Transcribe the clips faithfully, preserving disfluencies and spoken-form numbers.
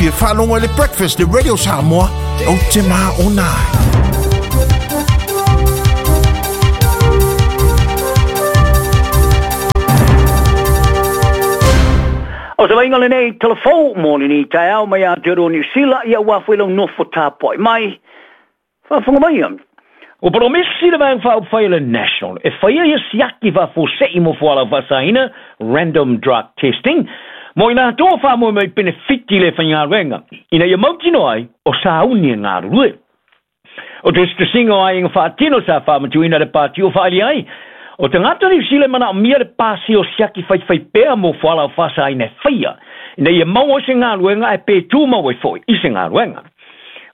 Fia faalogo i le Breakfast le Radio Samoa, ou te maona ai. O se vaaiga lenei telefou mo lenei taeao mai Aotearoa Niu Sila, ia ua afu i lau nofo tapuai mai. Faafofoga mai. Ua polomisi le Vaega Faaupufai o le National e faia ia siaki faafuasei mo fualaau faasaina, random drug testing, mo i latou o faamoemoe i penefiti le faigaluega, ina ia mautinoa ai o sauni e galulue. O tusitusiga o aiga faatino sa faamatuina le pati o faaali ai, o tagata Niu Sila e manaomia le pasi o siaki faifaipea mo fualaau faasaina e faia, ina ia maua ai se galuega ae pe tumau ai foi i se galuega.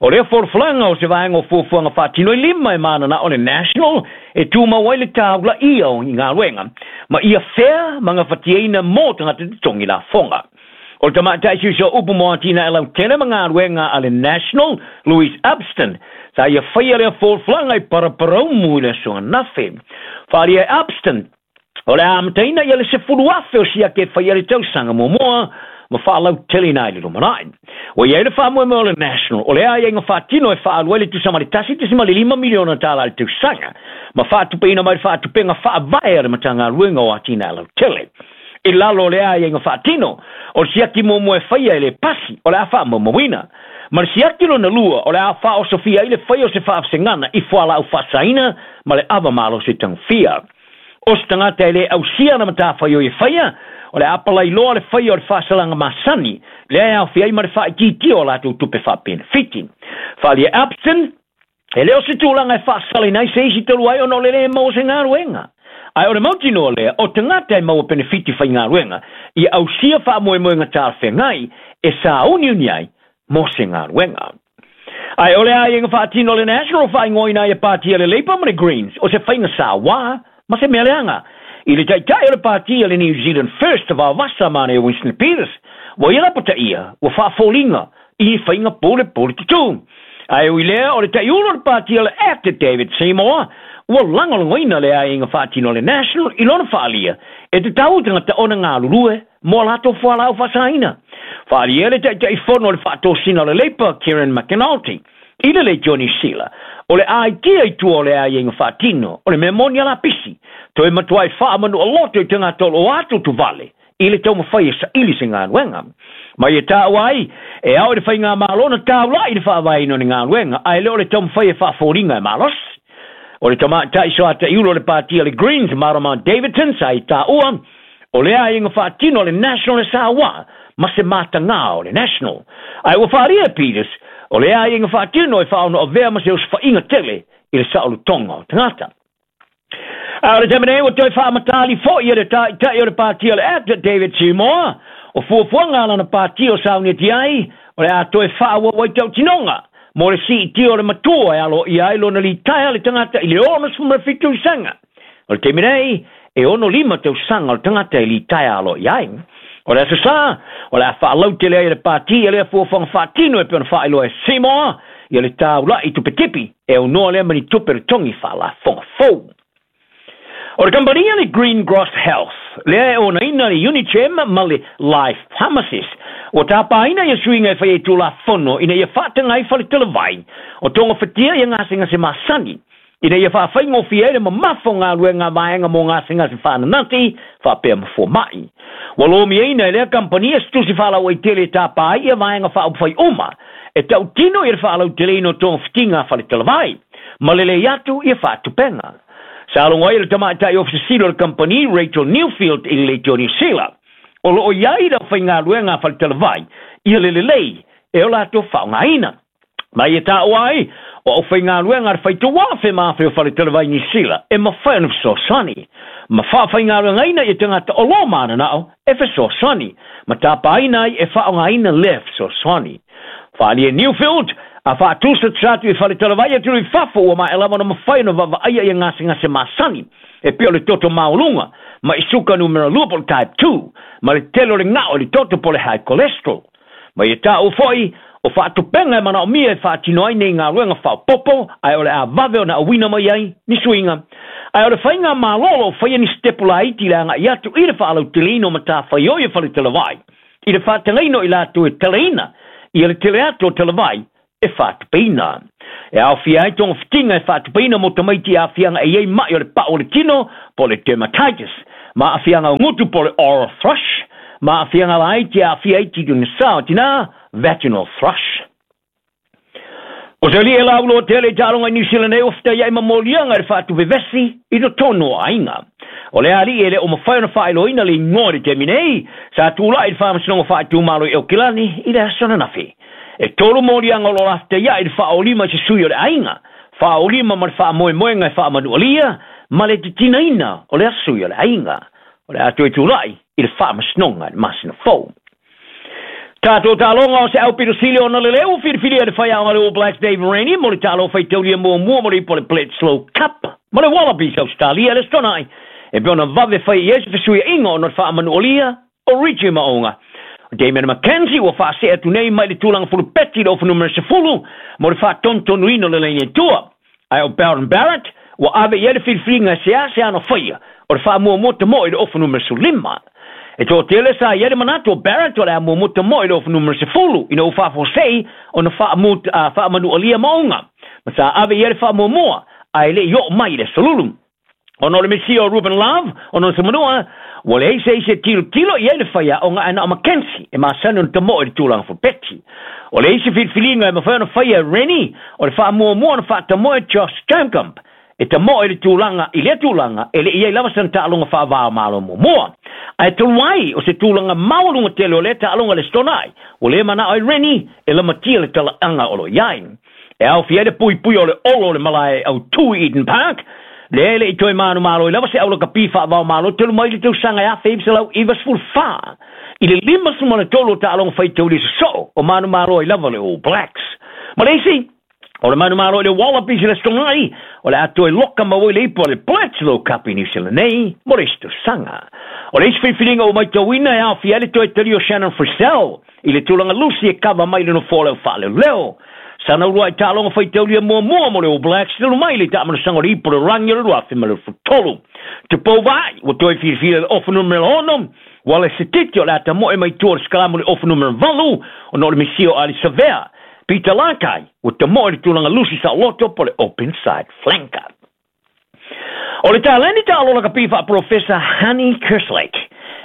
O lea folafolaga o se vaega o fuafuaga faatino i lima e mananao le National e tumau ai le taulaia o galuega, ma ia fea ma gafatiaina mo tagata totogi lafoga. O le tamaitai siusia upu mo atinae lautele ma galuega a le National, Louise Upston, sa ia faia lea folafolaga i paraparaumu i le aso ananafi. Faaalia e Upston, o le amataina ia le sefulu afe o siaki e faia le tausaga muamua, ma faalauteleina ai le lumanai. Ua iai le faamoemoe o le National, o lea aiaiga faatino e faaalu ai le tusa ma le tasi tesima le lima miliona tala i le tausaga, ma faatupeina mai le faatupega faavae a le Matagaluega o Atinae Lautele. I lalo o lea aiaiga faatino, o le siaki muamua e faia e le pasi, o le a faamaumauina. Ma le siaki lona lua, o le a faaosofia ai le faia o se faavasegana i fualaau faasaina ma le ava malosi tagofia. O se tagata e le ausia na matafaioi e faia, o le apalailoa le faia o le faasalaga masani, lea e aofia ai ma le faaitiitia o latou tupe faapenefiti. Faaalia Upston, e le o se tulaga e faasalaina ai se isi talu ai ona o le le maua se galuega. Ae o le mautinoa lea, o tagata e maua penefiti faigaluega, ia ausia faamoemoega talafeagai e sauniuni ai mo se galuega. Ae o le aiaiga faatino o le National faaigoaina ai e patia le Labour ma le Greens, o se faiga sauā ma se mea leaga. I le taitai o le patia le New Zealand First vaovasa ma ne Winston Peters, ua ia lapataia, ua faafoliga i faiga polepole tutū. Ae ui lea o le taiulo o le patia le Act David Seymour, ua lagolagoina le aiaiga faatino le National i lona faalia, e tatau tagata ona galulue mo latou fualaau faasaina. Faalia le taitaifono o le faatosina o le Labour Kieran McAnulty, i le leitio Niu Sila, o le aitia i tua o le aiaiga faatino, o le mea moni a lapisi, toe matuai faamanua loto i tagata o lo o atu tuvale, i le taumafai e saili se galuega. Ma ia taua ai, e ao i le faigamalo na taulai i le faavaeina o le galuega, ae le o le taumafai e faafoliga e malosi. O le tamaitai soataiulo o le patia le Greens, Marama Davidson, sa i taua, o le aiaiga faatino o le National e sauā, ma se matagā o le National. Ae ua faalia e Peters, o le aiaiga faatino e faaono avea ma se osofaiga tele i le saolotoga o tagata. A o le taimi nei ua toe faamatali fo'i e le taitai o le patia le Act David Seymour, o fuafuaga a lana patia o sauniati ai, o le a toe faaauau ai tautinoga mo le siitia o le matua e aloaia ai lona litaea le tagata i le onosefulu ma le fitu tausaga. O le taimi nei, e ono lima tausaga o le tagata e litaea aloaia ai. O le aso Sa, o le a faalautele ai le patia lea fuafuaga faatino e pei ona faailoa e Seymour, ia le taula'i tupetipi e aunoa lea ma ni tupe totogi faalafoga fou. O le kamupani le Green Cross Health, lea e onaina le Unichem ma le Life Pharmacies, ua tapaina ia suiga e faia i tulafono ina ia faataga ai faletalavai o togafatia ia gasegase masani, ina ia faafaigofie ai le mamafa o galuega a vaega mo gasegase faananati faapea ma foma'i. Ua lomiaina e lea kamupani se tusi faalauaitele e tapa ai ia vaega faaupufai uma e tautino ia le faalauteleina o togafitiga a faletalavai, ma lelei atu ia faatupega. Sa logo ai le tamaitai ofisa o le kamupani Rachel Newfield i le leitio Niu Sila, o loo iai le aufaigaluega a faletalavai ia le lelei e o latou faaaogaina. Ma ia taua ai, o aufaigaluega a le faitauafe ma afe o faletalavai Niu Sila e mafai ona fesoasoani, ma faafaigaluegaina ia tagata o lo mananao e fesoasoani, ma tapaina ai e faaaogaina lea fesoasoani. Faaalia Newfield, a faatusa atu i faletalavai atu i fafo ua maea lava ona mafai ona vaavaaia ia gasegase masani, e pei o le toto maualuga, ma i suka numera lua po o le type two, ma le tele o le gao i le toto po o le high cholesterol. Ma ia taua fo'i, o faatupega e manaomia e faatino ai nei galuega faaopoopo, ae o le a vave ona auina mai ai ni suiga. Ae o le faiga malolo o faia ni sitepu laiti le aga'i atu i le faalauteleina o matafaioi e faletalavai, i le faatagaina o i latou e talaina Ia le tele atu o talavai e whaatupeina. E aofia ai togafitiga e faatupeina mo tamaiti i aafiaga e iai ma'i o le pa'u o le tino po o le dermatitis, ma aafiaga o gutu po o le oral thrush, ma aafiaga laiti e aafia ai titugasa o tinā, vaginal thrush. O se ali'i e lauloa tele i taaloga i Niu Sila nei ua fetaia'i ma moliaga i le faatuvevesi i totonu o aiga. O le ali'i e le o mafai ona faailoaina le igoa i le taimi nei, sa tula'i i le faamasinoga faaitumalo i Aukilani i le aso ananafi. E tolu moliaga o lo o lafetaia'i i le faaolima i se sui o le aiga, faaolima ma le faamoemoega e faamanualia ma le titinaina o lea sui o le aiga. O le a toe tula'i i le faamasinoga i le masina fou. Tatou taaloga o se au pito sili ona lelei ua filifilia e le faiaoga le All Blacks Dave Rennie mo le taaloga faitaulia muamua mo le ipu o le Bledisloe Cup ma le Wallabies Ausetalia i le Aso Toonai e pei ona vave fai i ai se fesuiaiga ona o le faamanualia o Richie Maonga. O Damian McKenzie ua faasee atu nei mai le tulaga fulupeti i le ofa numera sefulu mo le faatonutonuina o le laini e tua. Ae o Beauden Barrett ua ave i ai le filifiliga e seasea ona faia o le faamuamua tamoe i le ofa numera sefululima. E toatele sa i ai le manatu o Barrett o le a muamua tamoe i le ofa numera sefulu ina ua faafuasei ona faamanualia Maonga ma sa ave i ai le faamuamua ae le i oo mai i le aso Lulu. Ona o le misia o Ruben Love ona o se manua ua leai se isi e tilotilo i ai le faiaoga ae na o McKenzie e masani ona tamoe i le tulaga fulupeti. O le isi filifiliga e mafai ona faia e Rennie o le faamuamua ona faatamoe Josh Jacomb e tamoe i le tulaga i lea tulaga e le i ai lava sana taaloga faava-o-Malo muamua. Ae talu ai o se tulaga maualuga tele o lea taaloga i le Aso Toonai, ua le manao ai Rennie e lamatia le talaaga o lo o i ai. E aofia ai le puipuia o le olo o le malae autū i Eden Park, lea e le i toe manumalo ai lava se aulakapi faava-o-Malo talu mai le tausaga e afe iva selau iva sefulu fa. I le lima sefulu ma le tolu o taaloga faitaulia sosoo o manumalo ai lava le All Blacks. Ma le isi, o le manumalo i le Wallabies i le Aso Toonai, o le a toe loka maua i le ipu o le Bledisloe Cup i Niu Sila nei mo le isi tausaga. O le isi filifiliga ua maitauina e aofia ai le toe talia o Shannon Frizell i le tulaga lusi e kava mai le nofoa o le au faaleoleo. Sana uluai taaloga faitaulia muamua mo le All Blacks talu mai le taamanosaga o le ipu o le rangi o le lua afe ma le tolu. Tupou Vaa'i ua toe filifilia i le ofa numera ono, Wallace Sititi o le a tamoe mai tua o le sikalamu i le ofa numera valu ona o le misia o Ali Savea. Peter Lakai ua tamoe i le tulaga lusi saoloto po o le open side flanker. O le taleni taalo lakapi faaprofesa Honey Kerslake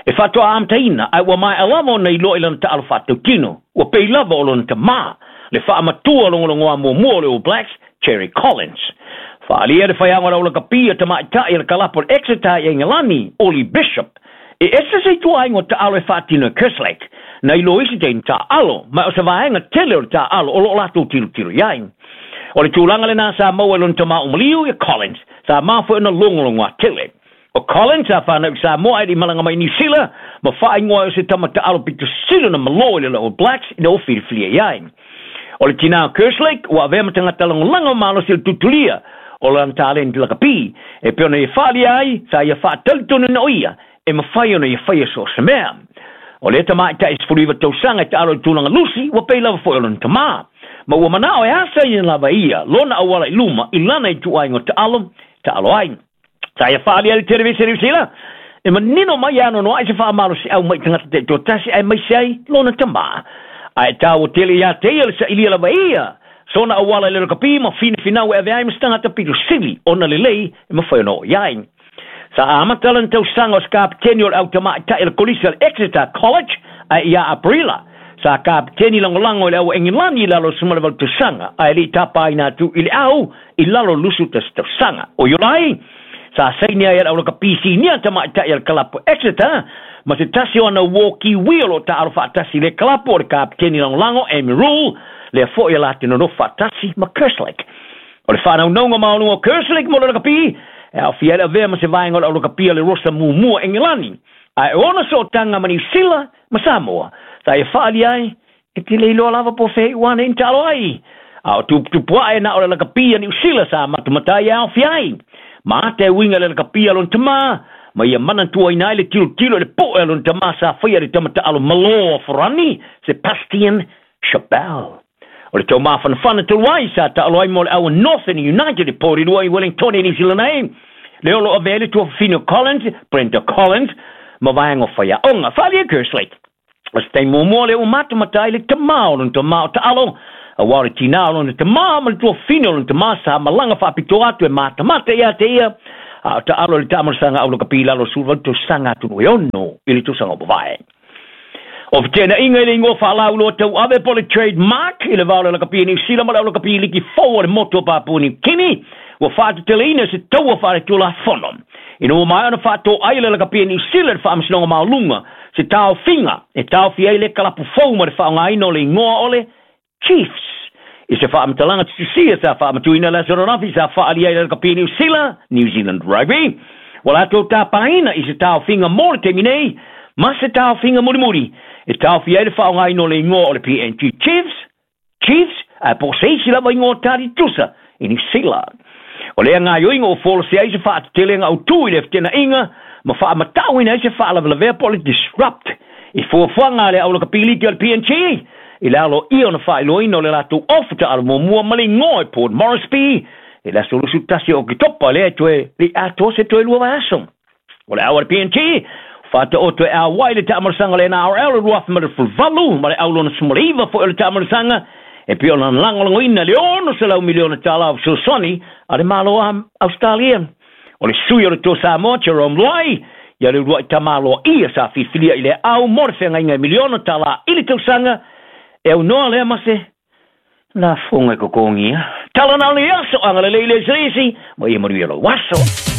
e faatoa amataina ae ua maea lava ona iloa i lana taalo faatautino ua pei lava o lona tamā le faamatua logologoa muamua o le All Blacks Cherry Collins. Faaalia le faiaoga o le aulakapi a tamaitai a le kalapu o le Exeter i Aigalani Ollie Bishop e ese se ituaiga o taalo e faatino e Kerslake na iloa isi taimi taaalo ma o se vaega tele o le taaalo o loo latou tilotilo i ai. O le tulaga lenā sa maua i lona tamā umaliu ia Collins sa mafua ona logologoa tele. O Collins sa whanau i Samoa e le i malaga mai Niu Sila ma faaigoa ai o se tama taalo pito sili ona malo i le All Blacks ina ua filifilia i ai. O le tinā o Kerslake ua avea ma tagata lagolago malosi o le tutulia o lana taleni lakapi e pei ona ia faaalia ai sa ia faatalitonu o ia e mafai ona ia faia so o se mea. O lea tamaitai sefulu iva tausaga e taalo i le tulaga lusi ua pei lava foi o lona tamā. Ma ua manao e asa ia lava ia lona auala i luma i lana ituaiga o taalo taalo ai. Sa ia faaalia i le televise Niu Sila e manino mai e anoanoa'i se faamalosi'au mai tagata taitoatasi aemaise ai lona tamā. Ae taua tele iā te ia le sa'ilia lava ia sona auala i le lakapi ma finafinau e ave ai ma se tagata pito sili ona lelei e mafai ona oo i ai. Sa amata lana tausaga o se kapeteni o le au tamaitai a le Kolisi o le Exeter College ae iā Aperila sa kapeteni lagolago i le au Aigilani i lalo o le sefulu ma le valu tausaga ae le i tapaina atu i le au i lalo o le lusu tasi tausaga. O Iulai sa saini ai e le aulakapi sinia tamaitai a le kalapu Exeter ma se tasi o ana uō Kiwi o loo taalo faatasi i le kalapu o le kapeteni lagolago Amy Rule lea fo'i e latou nonofo faatasi ma Kerslake. O le faanaunauga maualuga o Kerslake mo le lakapi e aofia ai le avea ma se vaega o le aulakapi a le Rosa muamua Aigilani ae o ona sootaga ma Niu Sila ma Samoa sa ia faaalia ai e te le iloa lava po o fea i ua nei na taalo ai. A o tuputupu ae na o le lakapi a Niu Sila sa matamatai e aofia ai. Ma ata e uiga i le lakapi a lona tamā ma ia manatuaina ai le tilotilo i le po'e a lona tamā sa faia le tama taalo malō a Forani Sebastian Chabal. O le taumafanafana talu ai sa taalo ai mo le au a Northern United i Porirua i Wellington i Niu Sila nei. Le o loo avea ai le tuafafine o Collins, Brenda Collins, ma vaega o faiaoga. Faaalia Kerslake. O se taimi muamua lea ua matamata ai le tamā o lona tamā o Taalo, auā o le tinā o lona tamā ma le tuafine o lona tamā sa malaga faapitoa atu e matamata iā te ia, a o Taalo i le taamalosaga aulakapi i lalo o le sefuluvalu tausaga atonu e ono i le tausaga ua mavae. O fetenaiga i le igoa faalauiloa tauave po o le trademark i le va o le lakapi a Niu Sila ma le aulakapi liki fou a le motu o Papua Niu Kini ua faateteleina se taua faaletulafono ina ua maea ona faatoai e le lakapi a Niu Sila i le Faamasinoga Maualuga se taofiga e taofia ai le kalapu fou ma le faaaogaina o le igoa o le Chiefs i se faamatalaga tutusia sa faamatuina le aso ananafi sa faaalia ai le lakapi a Niu Sila, New Zealand Rugby, ua latou tapaina i se taofiga mo le taimi nei ma se taofiga mulimuli e taofia ai le faaaogaina o le igoa o le P N G Chiefs, Chiefs, ae po o se isi lava igoa tali tusa i Niu Sila. O lea gaoioiga ua folasia ai se faatetelega autū i le fetenaiga ma faamatauina ai se faalavelavea po o le disrupt i fuafuaga a le aulakapiliki o le P N G i le aloaia ona faailoaina o le latou ofa taalo muamua ma le igoa e Port Moresby i le aso luasefulu tasi o Oketopa lea e toe le atoa se toe lua vaiaso. O le au a le P N G faataoto e auai le taamalosaga o le N R L o lua afe ma le sefuluvalu ma le au lona sefumaliva foi o le taamalosaga e pei ona lagolagoina le ono selau miliona tālā o fesoasoani a le Malo o Ausetalia. O le sui o le Toa Samoa, Jerome Luai, ia le uluai tamaloa ia sa filifilia i le au mo le feagaiga e miliona tālā i le tausaga, e aunoa lea ma se lafoga e kokogia. Tala na o le aso, agalelei le eseese, ma ia manuia lou aso.